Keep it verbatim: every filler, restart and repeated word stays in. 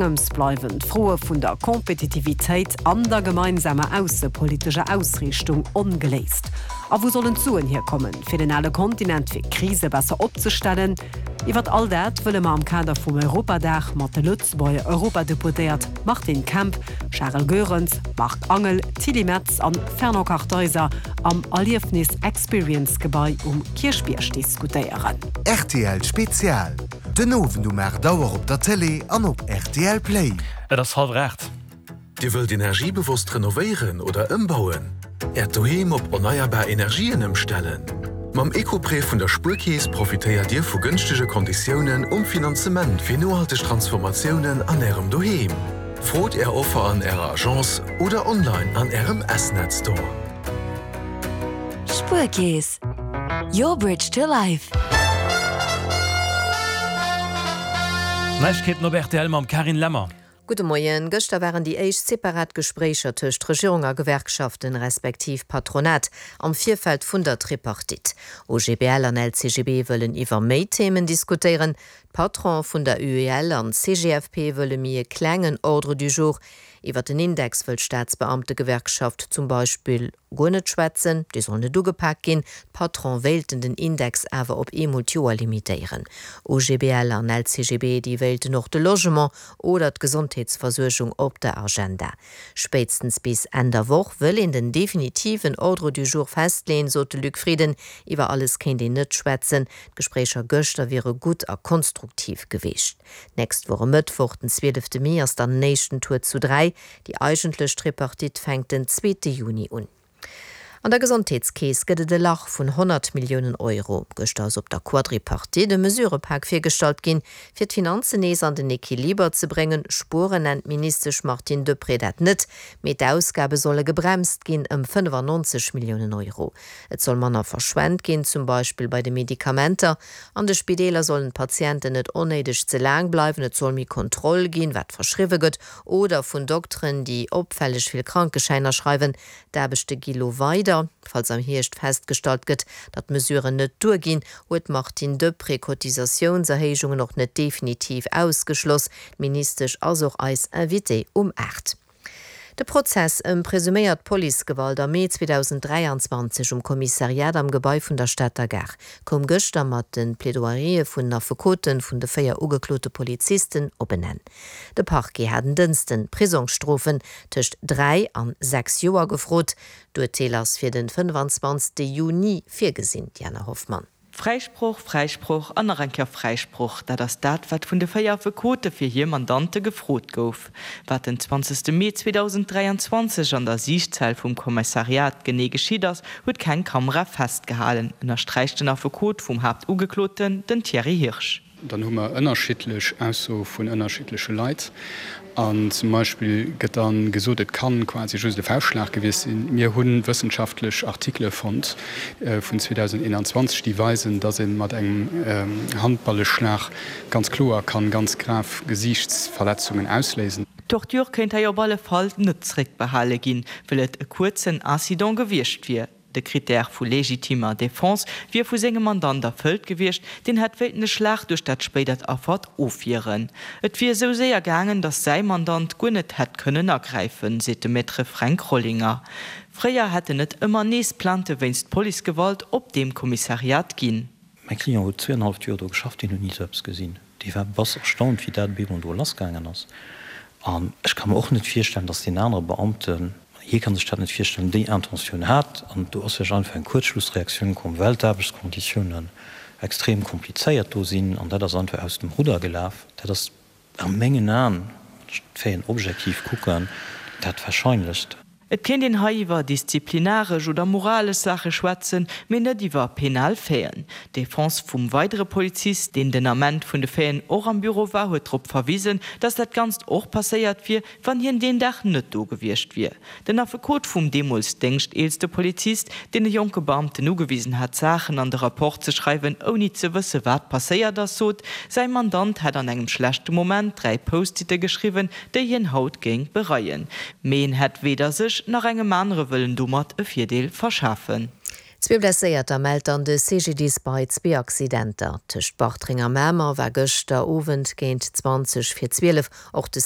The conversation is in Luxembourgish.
Engems bleiwen d'Froe vun der Kompetitivitéit an der gemeinsamer aussepolitescher Ausriichtung ongeléist. A wou sollen d'Suen hierkommen, fir den ale Kontinent fir Krise besser opzestellen? Iwwer all dat wëlle mer am Kader vum Europadag mat de Lëtzebuerger Europadeputéiert Martin Kemp, Charel Goerens, Marc Angel, Tilly Metz an Fernand Kartheiser am Erliefnis Experience Gebai um Kierchbierg diskutéieren. Rtl Spezial, Den Owend um aacht Auer op der Tëlee an op rtl Play. Et ass hallwer aacht. Dir wëllt energiebewosst renovéieren oder ëmbauen? Äert Doheem op erneierbar Energien ëmstellen? Mam Eco-Prêt vun der Spuerkeess profitéiert Dir vu gënschtege Konditiounen um Finanzement fir nohalteg Transformatiounen an Ärem Doheem. Frot Är Offer an Ärer Agence oder online an Ärem S-Net Store. Spuerkeess, your bridge to life. Neiegkeeten op rtl mam Carine Lemmer. Gudde Moien. Gëschter waren déi éischt separat Gespréicher tëscht Regierung a Gewerkschaften, respektiv Patronat, am Virfeld vun der Tripartite. O G B L an L C G B wëllen iwwer méi Themen diskutéieren. D'Patrone vun der U E L an C G F P wëlle méi e klengen Ordre du jour. Iwwer den Index wëll d'Staatsbeamtegewerkschaft zum Beispill guer net schwätzen, dee soll net ugepak ginn. D'Patrone wéilten den Index awer op eemol d'Joer limitéieren. O G B L an L C G B, déi wéilten och de Logement oder d'Gesondheetsversuergung op der Agenda. Spéitstens bis Enn der Woch wëll een den definitiven Ordre du jour festleeën, sot de Luc Frieden. Iwwer alles kéint een net schwätzen. D'Gespréicher gëschter wiere gutt a konstruktiv gewiescht. Nächst Woch e Mëttwoch, den zwielefte Mee, ass dann den éischten Tour zu dräi. Déi eigentlech Tripartite fänkt den zweete Juni un. An der Gesondheetskeess gëtt et e Lach vun honnert Milliounen Euro. Gëschter ass op der Quadripartite e Mesurëpak virgestallt ginn, fir d'Finanzen nees an den Equiliber ze bréngen. Spueren nennt d'Ministesch Martine Deprez dat net, mee d'Ausgabe solle gebremst ginn ëm fënnefannonzeg Milliounen Euro. Et soll manner verschwent ginn, zum Beispill bei de Medikamenter. An de Spideeler sollen d'Patienten net onnéideg ze laang bleiwen, et soll méi Kontroll ginn, wat verschriwwe gëtt, oder vun Dokteren, déi opfälleg vill Krankeschäiner schreiwen. D'Aarbechte gi lo weider. Falls am Hierscht festgestallt gëtt, datt d'Mesuren net duerginn, huet d'Martine Deprez Cotisatiounserhéijungen och net definitiv ausgeschloss. D'Ministesch ass och eis Invitée um aacht. De Prozess ëm presuméiert Policegewalt am Mee zweedausend dräianzwanzeg um Kommissariat am Gebai vun der Stater Gare koum gëschter mat de Plaidoyerë vun den Affekote vun de véier ugeklote Polizisten op en Enn. De Parquet hat en Dënschden Prisongsstrofen tëscht dräi an sechs Joer gefrot. D'Urteel ass fir de fënnefanzwanzegste Juni virgesinn. Diana Hoffmann. Fräisproch, Fräisproch an nach eng Kéier Fräisproch, dat ass dat, wat vun de véier Affekote fir hir Mandante gefrot gouf. Wat den zwanzegste Mee zweedausend dräianzwanzeg an der Siichtzell vum Kommissariat genee geschitt ass, huet keng Kamera festgehalen, ënnersträicht den Affekot vum Haaptugekloten, den Thierry Hirsch. Dann hu mer ënnerschiddlech Aussoe vun ënnerschiddleche Leit. An zum Beispill gëtt da gesot, et kann quasi just e Fauschtschlag gewiescht sinn. Mir hu wëssenschaftlech Artikele fonnt vun zweedausendeenanzwanzeg, déi weisen, datt ee mat engem Handballeschlag ganz kloer kann ganz grav Gesiichtsverletzungen ausléisen. D'Torture kéint hei op alle Fall net zréckbehale ginn, well et e kuerzen Incident gewiescht wier. De Critère vu legitimer Defense wier vu sengem Mandant erfëllt gewiescht, deen hätt wéilten de Schlag duerch dat spéidert Affer ofwieren. Et wier esou séier gaangen, datt säi Mandant guer net hätt kënnen agräifen, seet de Maître Fränk Rollinger. Fréier hätten et ëmmer nees Plainte wéinst Policegewalt op deem Kommissariat ginn. Mäi Client huet zweeanenhalleft Joer do geschafft, deen huet ni esou eppes gesinn. Dee war bass erstaunt, wéi dat op eemol do lassgaangen ass. An ech ka mer och net virstellen, datt deen anere Beamten, hie ka sech dat net virstellen, déi Intentioun hat. An do ass vläicht einfach eng Kuerzschlussreaktioun komm, well d'Aarbechtskonditiounen extrem komplizéiert do sinn. An dat ass einfach aus dem Rudder gelaf. Dat ass a mengen Aen, wann ech d'Faiten objektiv kucken, dat Warscheinlechst. Et kéint een hei iwwer disziplinaresch oder moralesch Saache schwätzen, mee net iwwer penal Faiten. D'Defense vum weidere Polizist, deen den Ament vun de Faiten och am Büro war, huet drop verwisen, datt dat Ganzt och passéiert wier, wann hien deen Dag net do gewiescht wier. Den Affekot vum deemools déngschteelste Polizist, deen e jonke Beamten ugewisen hat, Saachen an de Rapport ze schreiwen, ouni ze wësse wat passéiert ass, sot, säi Mandant hätt an engem schlechte Moment dräi Post-itte geschriwwen, déi hien haut géing bereien. Mee en hätt weder sech nach engem anere wëllen domat e Virdeel verschafen. Zwee Blesséierter mellt dann de CGDIS bei zwee Accidenter. Tëscht Bartreng a Mamer war gëschter Owend géint zwanzeg vir zwielef och de